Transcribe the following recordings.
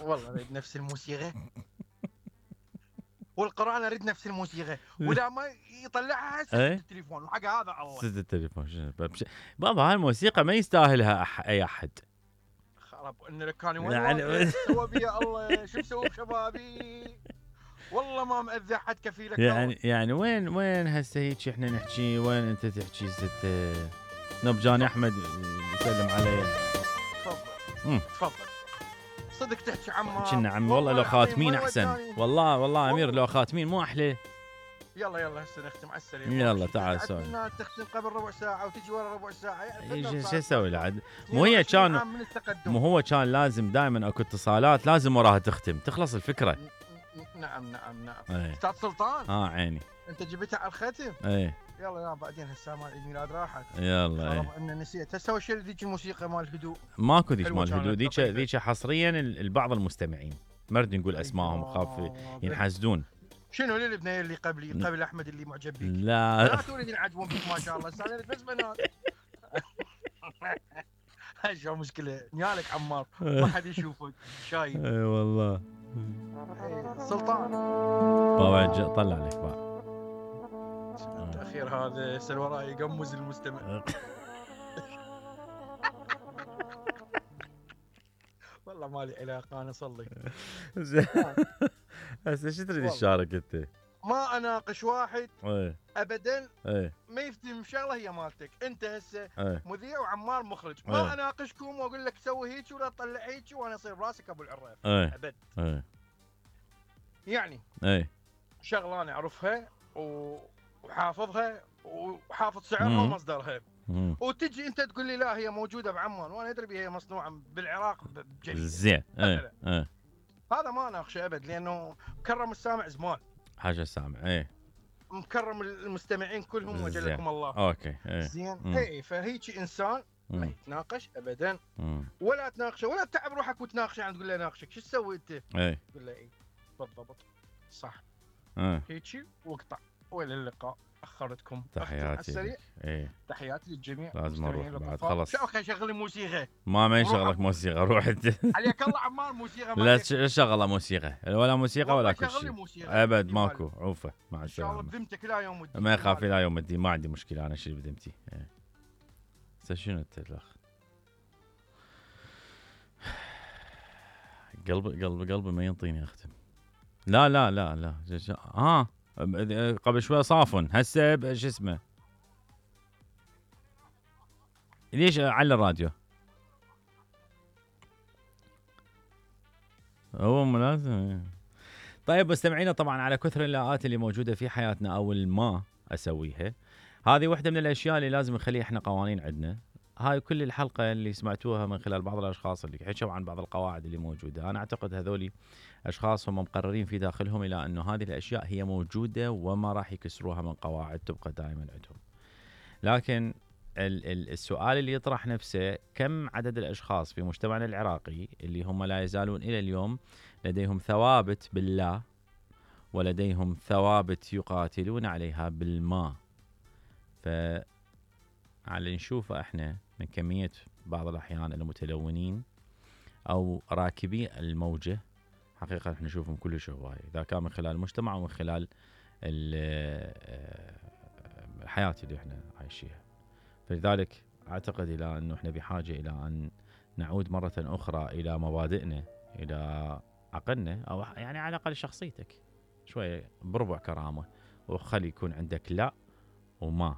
والله اريد نفس الموسيقى والقرآن اريد نفس الموسيقى، واذا ما يطلعها سد التليفون وحق هذا الله. سد التليفون شنو بابا هاي الموسيقى ما يستاهلها اي احد. خرب ان كان وين سوى بيا الله، شو مسوي بشبابي؟ والله ما مأذي حد كفيلك. يعني وين هسه هيك احنا نحكي، وين انت تحكي ست نبجاني احمد يسلم علي. تفضل صدق تحكي عمار. كنا عمي والله لو خاتمين احسن. والله امير لو خاتمين مو احلى. يلا هسه نختم على السريع. يلا تعال سوي. تختم قبل ربع ساعه وتجي ورا ربع ساعه، يعني شو اسوي العد؟ مو هي كان، مو هو كان لازم دائما اكو اتصالات لازم وراها تختم تخلص الفكره. نعم استاذ سلطان. عيني انت جبتها على الختم. يلا بعدين هسه مال عيد ميلاد راحت. يلا ان نسيت هسه وش ذيك الموسيقى مال الهدوء. ماكو ذيك مال الهدوء، ذيك حصريا لبعض المستمعين، ما نريد نقول اسمائهم خاف ينحسدون. شنو البنيه اللي قبل احمد اللي معجب بيك؟ لا تريد ينعجبون بيك ما شاء الله. بس بنات هاي شو مشكله نيالك عمار ما حد يشوفك شايف. اي والله سلطان بابا طلع عليك بقى التاخير هذا سل وراي يقمز المستمع. والله مالي علاقه انا صلي. هسه شو تريد تشارك انت؟ ما اناقش واحد ابدا ما يفتهم شغله هي مالتك انت هسه مذيع وعمار مخرج. ما اناقشكم واقول لك سوي هيك ولا تطلع هيك وانا اصير براسك ابو العراف ابد. يعني شغله انا اعرفها وحافظها وحافظ سعرها ومصدرها، وتجي انت تقول لي لا هي موجوده بعمان وانا ادري هي مصنوعه بالعراق بجريده زين. هذا ما اناقشه ابد لانه مكرم السامع زمان حاجه السامع مكرم المستمعين كلهم وجلكم الله. اوكي زين. فهيك انسان ما يتناقش ابدا ولا تناقشه ولا تتعب روحك وتناقشه يعني تقول له ناقشك شو تسوي انت؟ تقول له بالضبط صح هيك واقطع. والى اللقاء. اخرتكم تحياتي. تحياتي للجميع. لازم اروح بعد خلص. اوكي شغل لي موسيقى. ما يشغلك موسيقى روح انت. عليك الله عمار موسيقى. لا شغله موسيقى ولا موسيقى ولا كل شيء ابد ماكو. عوفه مع السلامه. ان شاء الله بذمتك لا يوم الدين. ما يخاف لا يوم الدين ما عندي مشكله انا شيء بذمتي. شنو انت الاخ؟ قلبي ما ينطيني اختم. لا قبل شوي صافن هسه شو اسمه ليش على الراديو؟ هو ملازم. طيب مستمعينا طبعا على كثر اللاءات اللي موجوده في حياتنا او ما اسويها، هذه واحده من الاشياء اللي لازم نخليها احنا قوانين عندنا. هاي كل الحلقه اللي سمعتوها من خلال بعض الاشخاص اللي حكوا عن بعض القواعد اللي موجوده، انا اعتقد هذولي اشخاص هم مقررين في داخلهم الى انه هذه الاشياء هي موجوده وما راح يكسروها من قواعد تبقى دائما عندهم. لكن السؤال اللي يطرح نفسه كم عدد الاشخاص في مجتمعنا العراقي اللي هم لا يزالون الى اليوم لديهم ثوابت بالله ولديهم ثوابت يقاتلون عليها بالما. على نشوفه احنا من كميه بعض الاحيان المتلونين او راكبي الموجه حقيقه احنا نشوفهم كلش هوايه، اذا كان من خلال المجتمع ومن خلال الحياه اللي احنا عايشيها. فلذلك اعتقد الى انه احنا بحاجه الى ان نعود مره اخرى الى مبادئنا، الى عقلنا، او يعني على الاقل شخصيتك شويه بربع كرامه، وخلي يكون عندك لا وما.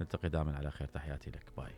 نلتقي دائما على خير. تحياتي لك. باي.